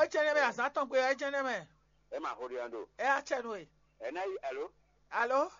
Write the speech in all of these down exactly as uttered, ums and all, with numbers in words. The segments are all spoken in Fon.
Ecɛnɛ mɛ azán tɔn gbe ecɛnɛ mɛ. Ɛ ma xo ɖe ɔn ɖo. Ɛ acɛ nu e. Ɛ na yi alo. Alo.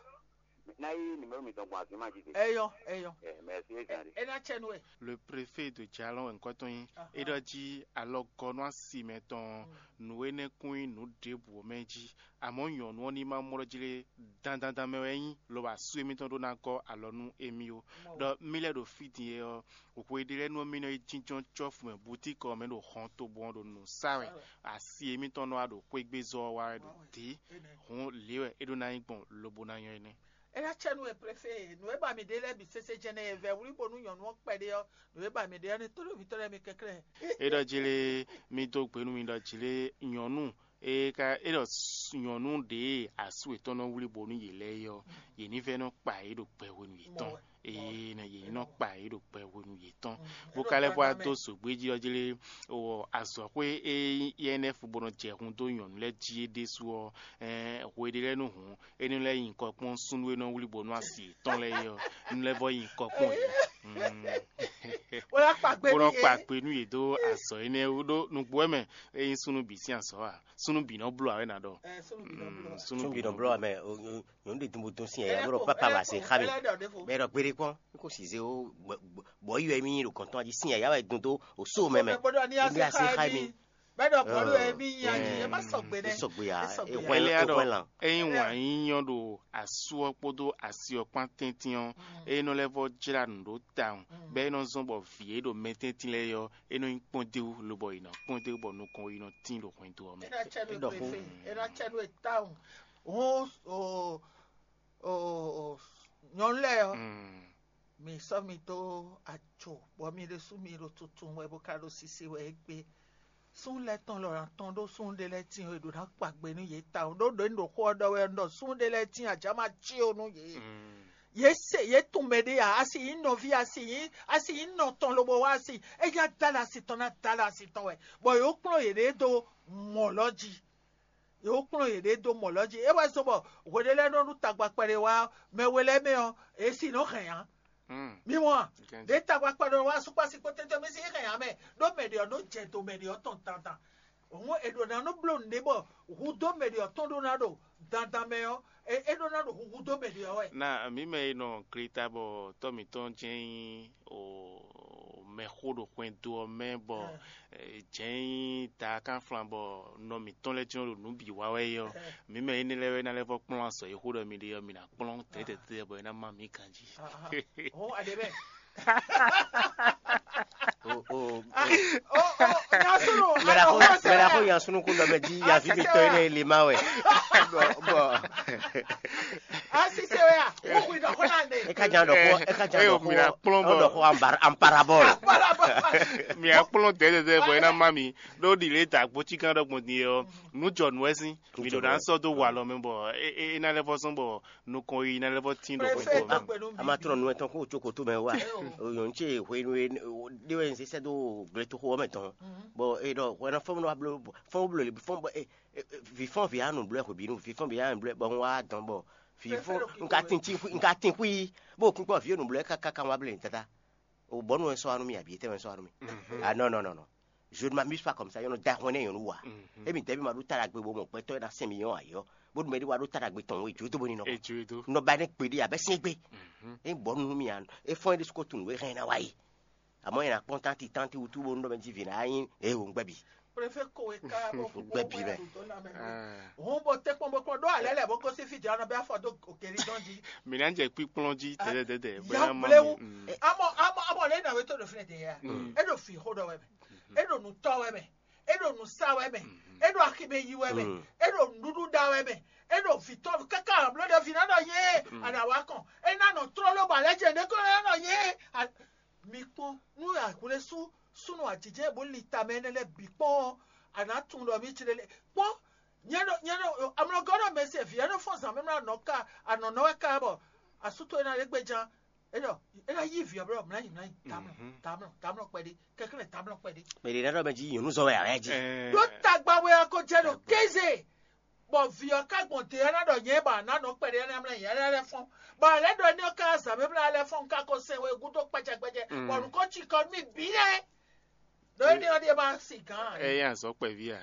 Na yi numéro mi tɔn gbɔn azima ji de. Eyɔ eyɔ. Ɛ mɛ si e zan de. Ɛ na cɛ nu e. Le préfet de Jalon wɛ ŋkɔ tɔn nyi. É ɖɔ jí alɔgɔnú asi mɛ tɔn nǔ énɛ́ kún nyí nǔ ɖěbǔ mɛ jí. Amɔ̌ nyɔ̌nu ɔ́ ní ma mlɔ́ jí lé dandandan mɛ wɛ é nyí, lobo asú émítɔn ɖó ná gɔ́ alɔ nú émí ó. Ɖɔ mí lɛ́ ɖo fí din é ɔ́, hwe ɖé lɛ́ɛ nú ɔ́ mí nɔ yi jínjɔ́n cɔ́fu mɛ butíkɔ ɔ́ mɛ ɖo hɔn tobo ɔ́ ɖo nǔ sa wɛ. Asi émítɔn nɔ wá ɖo xwégbézɔ́ ɔ́ wa wɛ ɖo dě. Hǔn lě wɛ é ɖó ná nyí gbɔn lobo ná nyɔ́ énɛ́. É ná cɛ nú e préfé nǔ e ba mǐ ɖe lɛ́ɛ bǐ sésé jɛnɛ e vɛ́ wlí bónú nyɔ̌nu ɔ́ kpɛɖé ɔ́, nǔ e ba mǐ ɖe ɔ́ ní tónúvǐtɔ́ lɛ́ɛ mi kɛnklɛ́n. É ɖɔ jí lé, mí dó gbe nú mi ɖɔ jí lé, nyɔ̌nu é ka é ɖɔ nyɔ̌nu ɖě asú yětɔn nɔ wlí bónú yě lɛ́ɛ é ɔ́, yě ní vɛ́ nɔ kpa yě ɖo gbɛ hwenu yětɔn. Eye nɔ yě ní nɔ kpa yě ɖo gbɛ hwenu yětɔn. Bó ka lɛ́ vɔ wá dó zǒgbé jí ɔ́ jí lé, wɔ azɔ̌xwé e yɛ énɛ́ fu bó nɔ jɛ hun dó nyɔ̌nu lɛ́ɛ jí é ɖésú ɔ́, hwe ɖé lɛ́ɛ nú hǔn é ní lɛ́ nyi kɔ kpɔ́n súnnu e nɔ wlí bó nú asi yětɔn lɛ́ɛ é ɔ́, ní lɛ́ vɔ nyi kɔ kpɔ́n yě. Wọ́n yá kpa gbe bó nú nɔ yě. Kpa gbe nú yě dó azɔ̌ énɛ́ wú ɖó nǔgbó wɛ mɛ é nyí súnnu bǐ sín azɔ̌ ǎ. Súnnu bǐ nɔ bló ǎ wɛ ná ɖɔ. Ɛ, súnnu bǐ nɔ bló. Súnnu bǐ nɔ bló ǎ mɛ. Nyɔ̌nu ɖe dun bó dɔn sín yǎyá bó ɖɔ pápá wá se xá mi. Bɛ́ ɖɔ gbére kpɔ́n, n kò sì zé ó. Bɔ̌ yi wɛ mí nyí ɖo gɔ̌n tɔn jí sín yǎyá wɛ dun dó o só mɛ mɛ. Bó ɖɔ ní así xá mi. Bɛ́ ɖɔ bɔ̌ ɖɔ mí nyí ají é má sɔgbe nɛ́. É sɔgbe ǎ. É hwɛ́n lan. Ényí wǎn yíyɔ́ ɖo asú ɔ́ kpódó asi ɔ́ kpán tɛ́ntin ɔ́, é nɔ lɛ́ vɔ jlá nǔ ɖó tawun, bɛ́ é nɔ zɔ́n bɔ vǐ e ɖo mɛ tɛ́ntin lɛ́ɛ ɔ́, é nɔ nyí kpɔ́ndéwú, lobɔ è nɔ kpɔ́ndéwú bɔ nukɔn yi nɔ tín ɖo hwɛndo ɔ́ mɛ. É ná cɛ nú e tawun. Hǔn o o nyɔ̌nu lɛ́ɛ ɔ́, mi sɔ́ mi dó ajo, bɔ mi ɖésú mi ɖo tuntun wɛ bó ka ɖo sise wɛ égbé. Súnnu lɛ́ɛ tɔn lɔ ná tɔn ɖó súnnu ɖé lɛ́ɛ tíin e ɖo ná kpa gbe nú yě tawun ɖó ɖo ní ɖo xó ɔ́ ɖɔ wɛ un ɖɔ súnnu ɖé lɛ́ɛ tíin ajǎ ma cí o nú yě. Yě se yě tunwun mɛ ɖé ǎ, a si nyí nɔví, a si nyí a si nyí nɔ tɔn lobo wá a si, éyá dá lɛ asi tɔn ná dá lɛ asi tɔn wɛ, bɔ yě kplɔ́n yěɖée dó mɔ̌ lɔ jí. Yě kplɔ́n yěɖée dó mɔ̌ lɔ jí. É wɛ zɔ́n bɔ hwe ɖé lɛ́ɛ nɔ ɖu tagba kpɛɖé wá mɛ we lɛ́ɛ mɛ ɔ́, yě si nɔ hɛn ǎ. Mi mɔ a? Ɖě tagba kpɛɖé wá sukpasi kpó tɛ́tɛ́ mɛ si hɛn ǎ mɛ, ɖó mɛ ɖě ɔ́ nɔ jɛ do mɛ ɖě ɔ́ tɔn dandan. Hǔn è ɖǒ ná nɔ bló nǔɖé bɔ hudó mɛ ɖě ɔ́ tɔn ɖó ná ɖo dandan mɛ ɔ́, é é ɖó ná ɖo huhu dó mɛ ɖě ɔ́ wɛ. Na mǐ mɛ e nɔ gleta bɔ tɔ́ mǐtɔn jɛ́n nyí o mɛxó ɖo xwɛndo ɔ́ mɛ bɔ jɛ́n nyí taakánflan bɔ nɔ mǐtɔn lɛ́ɛ jɛ́n ɖo nǔ bǐ wa wɛ é ɔ́, mǐ mɛ énɛ́ lɛ́ɛ wɛ ná lɛ́ vɔ kplɔ́n azɔ̌ e xó ɖɔ mi ɖe ɔ́, mi ná kplɔ́n tɛ̌tɛ̌tɛ́ bɔ é ná má mǐ ganjí. Hɔn aɖe mɛ. O o. Nyasunu. Mɛɖa ko yan sunu ko nɔ mɛ di yavi mi tɔ yi ne le ma wɛ. Bɔ bɔ. Asise wɛ ya. Wo kui dɔ ko na ne. E ka jan dɔ ko e ka jan dɔ ko. Mina kplɔn bɔ. Dɔ ko an parabɔl. Mina kplɔn dɛdɛdɛ bɔ e na ma mi ɖo ɖi le ta gboti kan dɔ gbɔn din yɔ nu jɔ nu wɛ sin mi ɖo na sɔ do walɔ mɛ bɔ e e na lɛ fɔ sɔn bɔ nukɔn yi na lɛ fɔ tin ɖo Prefet kpɛtɔ mɛ. Dɔgbe nú mi. A ma trɔ nu etɔn kó o tso koto mɛ wa. Oyɔn tse hwenu e ɖe wɛ n sisɛ do gletoxo ɔmɛ tɔn. Bɔn e ɖɔ hwɛ na fɔn wa blo fɔn blo fɔn bɔ e vi fɔn vi anu blɛ hwe binu vi fɔn vi anu blɛ bɔ n wa dɔn bɔ vi fɔn n ka tin ti n ka tin xui bɔ kun kpɔ vi enu blɛ kaka kan wa blɛ tata. O bɔnu wɛ sɔ anu mi abi etɛ wɛ sɔ anu mi. Ah non non non non. Je ne m'amuse pas comme ça, yɔnɔ da hɔn ne yɔnɔ wa. Emi tɛ bi ma ɖo ta ɖagbe bo mɔ gbɛtɔ na sɛn mi yɔn ayɔ. Bo dun mɛ ɖi wa ɖo ta ɖagbe tɔn wo edzo do bo ni nɔ. Edzo do. Nɔ ba ne gbe ɖi abɛ sɛn gbe. E bɔ nu mi an e fɔn ɖi suko tun we hɛn na wa yi. Amɔ yɛn akpɔn tanti tanti wutu bo nɔ mɛ ji vi na yin e wo ngbɛ bi. Prefe ko e ka bo fu Gbɛ bi mɛ. Hɔn bɔ tɛ kpɔn bɔ kpɔn ɖo alɛ lɛ bɔ ko si fi dza nɔ bɛ afɔ do okeli dɔn ji. Mi na jɛ kpikplɔn ji tɛtɛtɛtɛ. Ya blewu. Amɔ amɔ amɔ lɛ na we to ɖo fi ne de ya. E ɖo fi xo ɖɔ wɛ mɛ. E ɖo nutɔ wɛ mɛ. E ɖo nusa wɛ mɛ. E ɖo aximɛ yi wɛ mɛ. E ɖo nuɖuɖu ɖa wɛ mɛ. E ɖo vitɔ kaka blo ɖe vi na nɔ ye. Ana wa kɔn. E na nɔ trɔ lo ba lɛ jɛ ne ko na nɔ ye. Mi kpɔn nú ahwlɛ́sú súnnu ajijɛ bó li tamɛ énɛ́ lɛ́ɛ bǐ kpɔ́n ɔ́, a nǎ tunwun ɖɔ mǐ ci lélẹ̀ kpɔ́n. Nyɛ ɖo nyɛ ɖo amlɔgɔ́ ɖɔ mɛ se vǐ ɛ́ nɔ fɔ́n zǎn mɛ mlá nɔ ká anɔ̌nɔ wɛ ká bɔ asútó é ná lé gbéján é ɖɔ é ná yí vǐ ɔ́ blɔ mlányi mlányi tamlɔ tamlɔ tamlɔ kpɛɖé kɛkɛ́nɛ tamlɔ kpɛɖé. Mɛ ɖě ná ɖɔ mɛ jí nyɔ̌nu zɔn wɛ ǎ wɛ jí. Ɖó tagba wɛ a ko jɛ ɖo kéze. Bɔ vǐ ɔ́ ka gbɔn te ɔ́ ná ɖɔ nyɛ ba ná nɔ kpɛɖé ɛnɛ mlá nyɛ lɛ́ɛ fɔ́n. Bɔ a lɛ́ ɖɔ énɛ́ ɔ́ ká zǎn mɛ mlá lɛ́ɛ fɔ́n ka ko sɛn we gúdo kpɛjɛkpɛjɛ bɔ nǔ ko ci kɔ nú mì bǐ lɛ́ɛ. Ɖó énɛ́ ɔ́ ɖíe ma sin gǎn ǎ. Ɛ yí azɔ̌ kpɛví a?